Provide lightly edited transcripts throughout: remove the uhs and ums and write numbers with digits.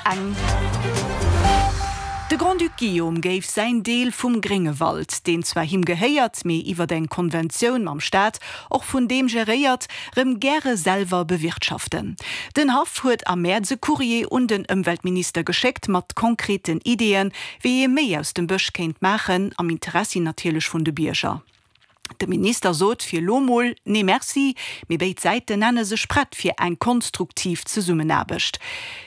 eng. De Grand-Duc Guillaume géif säin Deel vum Gréngewald, deen zwar him gehéiert, mee iwwert eng Konventioun mam Staat och vun deem geréiert, rëm gäre selwer bewirtschaften. Den Haff huet am Mäerz e Courrier un den Ëmweltminister geschéckt mat konkreten Ideeën, wéi ee méi aus dem Bësch kéint maachen, am Interessi natierlech vun de Bierger. De Minister sot fir elo mol Nee Merci, mee béid Säiten nenne sech prett fir eng konstruktiv Zesummenaarbecht.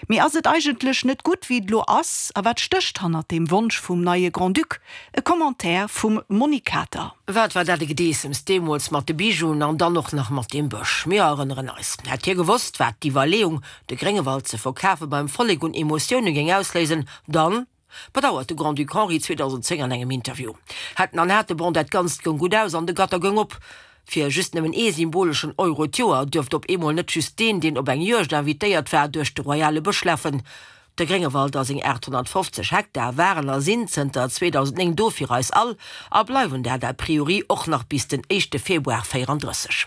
Mee ass et eigentlech net gutt wéi et elo ass? A wat stécht hannert deem Wonsch vum neie Grand-Duc? E Commentaire vum Monique Kater. Wat war dat e Gedeessems deemools mat de Bijouen an dann och nach mat deem Bësch. Mir erënneren eis. Hätt hie gewosst, wat d'Iwwerleeung, de Gréngewald ze verkafe beim Vollek un Emotioune géing ausléisen, dann. Bedauert de Grand-Duc Henri 2010 an engem Interview. Hätten an hate, bon, dat Ganzt goung gutt aus an de Gatter goung op. Fir just nëmmen ee symboleschen Euro d'Joer duerft op eemol net just deen, deen op eng Juegd invitéiert war, duerch de royale Bësch lafen. De Gréngewald a seng 850 Hektar waren a sinn zënter 2009 do fir eis all a bleiwen dat a priori och nach bis den éischte Februar 34.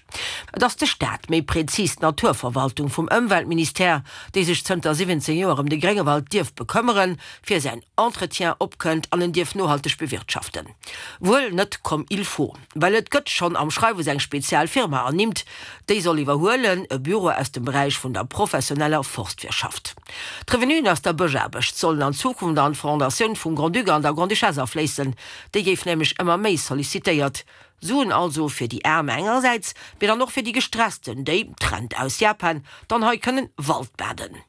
Et ass de Staat, méi prezis d'Naturverwaltung vum Ëmweltministère, déi sech zënter 17 Joer ëm de Gréngewald dierf bekëmmeren, fir säin Entretien opkënnt an en dierf nohalteg bewirtschaften. Wuel net comme il faut, well et gëtt schonn am Schreiwes eng spezial Firma ernimmt, déi soll iwwerhuelen, e Büro aus dem Beräich vun der professioneller Forstwirtschaft. D'Revenuen aus der Bëschaarbecht sollen an Zukunft an d'Fondatioun vum Grand-Duc an der Grande-Duchesse afléissen, déi géif nämlech ëmmer méi sollicitéiert. Suen also fir déi Aarm engersäits, mee dann och fir déi Gestressten, déi, Trend aus Japan, dann hei kënnen Waldbaden.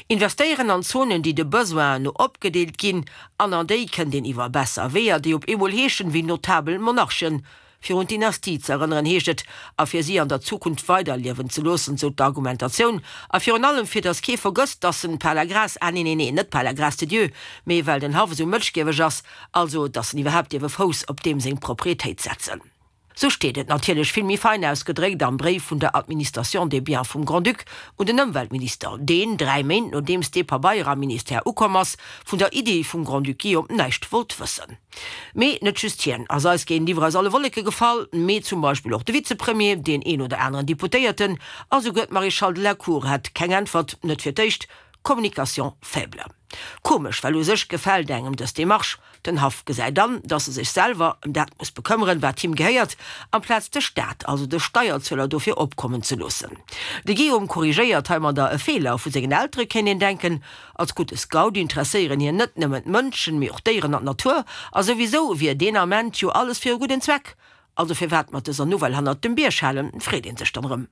Investéieren an Zonen, déi de Besoinen no opgedeelt ginn, an an déi kënnt een iwwer besser Weeër, déi op eemol heeschen, wéi notabel Monarchen. Fir un d'Dynastie ze erënneren, heescht et, a fir si an der Zukunft weiderliewen ze loossen, sou d'Argumentatioun, a virun allem fir datt kee vergësst, datt en par la grâce, ah nee, nee, nee, net par la grâce de Dieu, mee well den Haff esou mëtschgieweg ass, Also, dass en iwwerhaapt dierf e Fouss op deem seng Propriétéit setzen. Sou steet et natierlech vill méi fein ausgedréckt am Bréif vun der Administration des biens vum Grand-Duc un den Ëmweltminister, deen, 3 Méint nodeems dee Pabeier am Ministère ukomm ass, vun der Iddi vum Grand-Duc Guillaume näischt wollt wëssen. Mee net just hien ass eis géintiwwer aus alle Wolleke gefall, mee zum Beispill och de Vizepremier, deen een oder aneren Deputéierten a souguer d'Maréchale de la Cour hat keng Äntwert, net fir d'éischt, Communication faible. Komesch, well u sech gefält engem dës Demarche. Den Haff gesäit an, dass e sech selwer ëm dat muss bekëmmeren, wat him gehéiert, amplaz de Staat, also de Steierzueler, dofir opkommen ze loossen. De Guillaume korrigéiert heimadder e Feeler vu sengen Eltere, kéint een denken. Als gudde Scout interesséieren hien net nëmmen d'Mënschen, mee och d'Déieren an d'Natur. A souwisou wier deen Ament jo alles fir e gudden Zweck. Also firwat mat dëser Nouvelle hannert dem Bierg halen, freet ee sech dann erëm.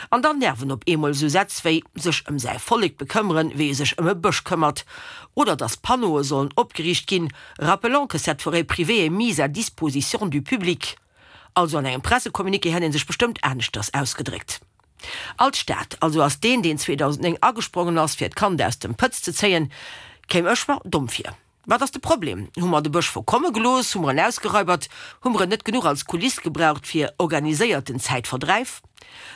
An dann nerven op eemol esou Sätz wéi sech ëm säi Vollek bekëmmeren, wéi e sech ëm e Bësch këmmert, oder dass Panneaue sollen opgeriicht ginn, rappelant que cette forêt privée est mise à disposition du public. Also an engem Pressecommuniqué hätt ee sech bestëmmt aneschters ausgedréckt. Als Staat also ass deen, deen 2009 agesprongen ass, fir d'Kand aus dem Pëtz ze zéien, kéim ech mer domm vir. Wat ass de Problem? Hu mer de Bësch verkomme gelooss? Hu mer en ausgeraibert? Hu mer en net genuch als Kuliss gebraucht fir organiséierten Zäitverdräif?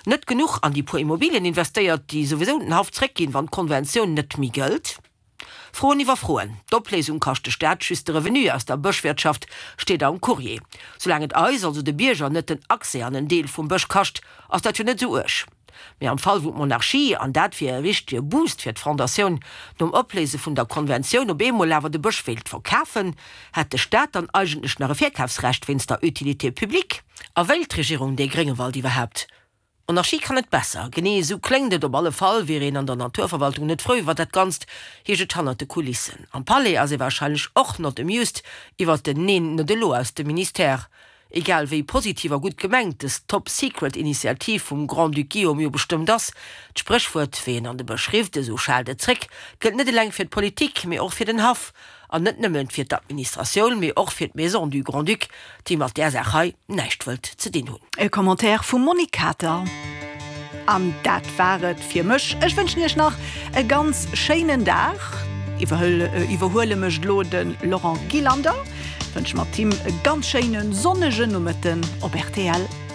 Net genuch an déi puer Immobilien investéiert, déi souwisou den Haff zréckginn, wann d'Konventioun net méi gëllt? Froen iwwer Froen. D'Opléisung kascht de Staat just de Revenu aus der Bëschwirtschaft, steet am Courrier. Soulaang et eis, also de Bierger, net den Accès an en Deel vum Bësch kascht, ass dat jo net esou uerg. Mee am Fall wou d'Monarchie, an dat wier e richtege Boost fir d'Fondatioun, nom Opléise vun der Konventioun op eemol awer de Bësch wéilt verkafen, hätt de Staat dann eigentlech nach e Virkafsrecht wéinst der Utilité publique? A wéilt d'Regierung dee Gréngewald iwwerhaapt? D'Monarchie kann et besser. Genee esou kléngt et op alle Fall. Wier een an der Naturverwaltung net frou iwwer dat Ganzt, heescht et hannert de Kulissen. Am Palais ass ee warscheinlech och not amused iwwer den Neen, net elo aus dem Ministère. Egal wéi positiv a gutt gemengt dës Top Secret Initiativ vum Grand-Duc Guillaume jo bestëmmt ass, d'Spréchwuert wéi een an de Bësch rifft, esou schaalt et zréck, gëllt net eleng fir d'Politik, mee och fir den Haff, an net nëmmen fir d'Administratioun, mee och fir d'Maison du Grand-Duc, déi mat där Saach hei näischt wëllt ze dinn hunn. E Commentaire vum Monique Kater. An dat war et fir mech. Ech wënschen iech nach e ganz schéinen Dag. Iwwerhuele mécht elo de Laurent Gillander. Wënsche mat him e ganz schéine sonnege Nomëtten op rtl.